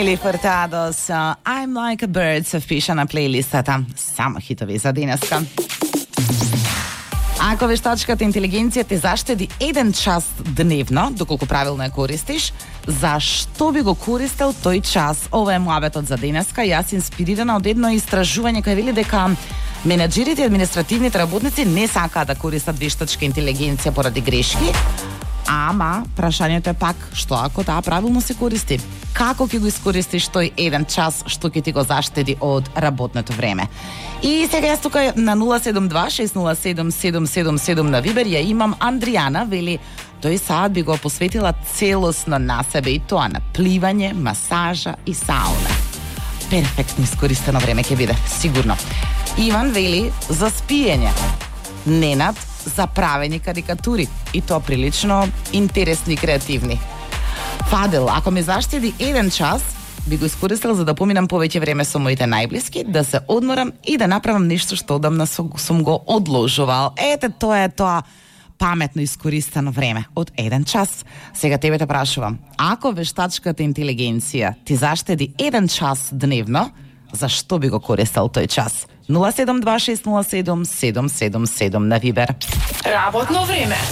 Нели Фуртадо со I'm Like a Bird се впиша на плейлистата. Само хитови за денеска. Ако вештачката интелигенција те заштеди 1 час дневно, доколку правилно ја користиш, зашто би го користел тој час? Ова е муабетот за денеска. Јас инспирирана од едно истражување кој вели дека менаџерите и административните работници не сакаат да користат вештачка интелигенција поради грешки, ама прашањето е пак, што ако таа правилно се користи? Како ќе го искористиш тој 1 час што ќе ти го заштеди од работното време? И сега јас тука на 072-607-777 на Вибер ја имам Андријана, вели тој саат би го посветила целосно на себе и тоа на пливање, масажа и сауна. Перфектно искористено време ќе биде, сигурно. Иван вели за спиење. Ненад за правење карикатури и тоа прилично интересни и креативни. Фадел, ако ми заштеди 1 час, би го искористил за да поминам повеќе време со моите најблиски, да се одморам и да направам нешто што одамна сум го одложувал. Ете, тоа е тоа паметно искористено време од 1 час. Сега тебе те прашувам, ако вештачката интелигенција ти заштеди 1 час дневно, зашто би го користел тој час? 072-607-777 на Вибер. Работно време.